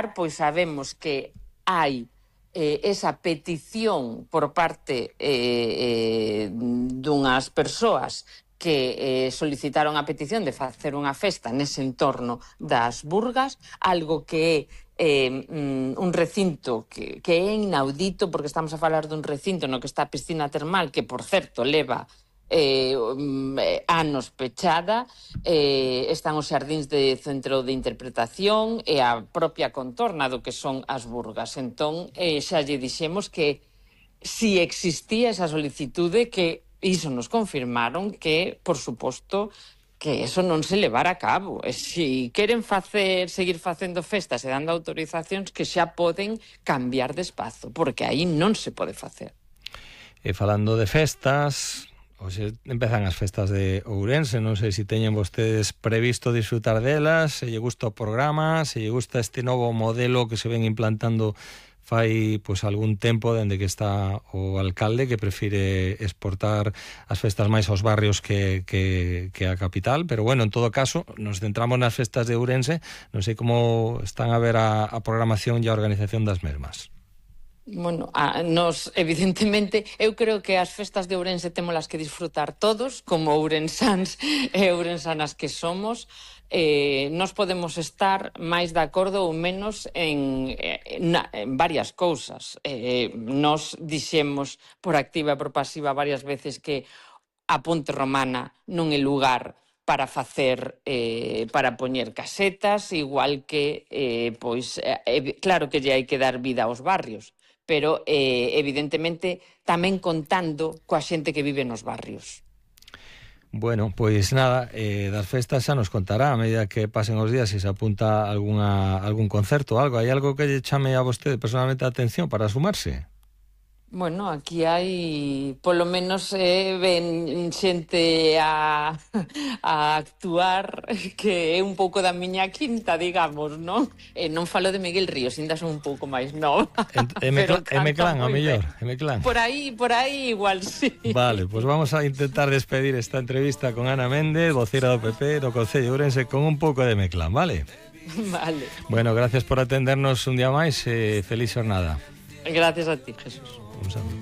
similar, pois sabemos que hai esa petición por parte dunhas persoas que solicitaron a petición de facer unha festa nese entorno das Burgas, algo que é un recinto que é inaudito, porque estamos a falar dun recinto no que está a piscina termal, que, por certo, leva anos pechada, están os xardíns de centro de interpretación e a propia contorna do que son as Burgas. Entón, xa lle dixemos que si existía esa solicitude, que iso nos confirmaron, que, por suposto, que eso non se levara a cabo. E se queren seguir facendo festas e dando autorizacións, que xa poden cambiar de espazo, porque aí non se pode facer. E falando de festas, hoxe empezan as festas de Ourense, non sei se teñen vostedes previsto disfrutar delas, se lle gusta o programa, se lle gusta este novo modelo que se ven implantando fai pois algún tempo dende que está o alcalde, que prefire exportar as festas máis aos barrios que a capital, pero bueno, en todo caso, nos centramos nas festas de Ourense, non sei como están a ver a programación e a organización das mesmas. Bueno, nos, evidentemente, eu creo que as festas de Ourense témolas que disfrutar todos, como ourensáns e ourensanas que somos. Nos podemos estar máis de acordo ou menos en varias cousas. Nos dixemos por activa e por pasiva varias veces que a Ponte Romana non é lugar para facer, para poñer casetas, igual que, claro que lle hai que dar vida aos barrios, pero evidentemente tamén contando coa xente que vive nos barrios. Bueno, pois nada, das festas xa nos contará a medida que pasen os días, se se apunta algún concerto ou algo. Hai algo que lle chame a vostede personalmente a atención para sumarse? Bueno, aquí hai, polo menos, ven xente a actuar que é un pouco da miña quinta, digamos, non? Non falo de Miguel Ríos, ainda son un pouco máis nova. M-Clan, a mellor, M-Clan. Por aí igual, sí. Vale, pois vamos a intentar despedir esta entrevista con Ana Méndez, vocera do PP do Concello de Ourense, con un pouco de M-Clan, vale? Vale. Bueno, gracias por atendernos un día máis e feliz xornada. Gracias a ti, Jesús. Un saludo.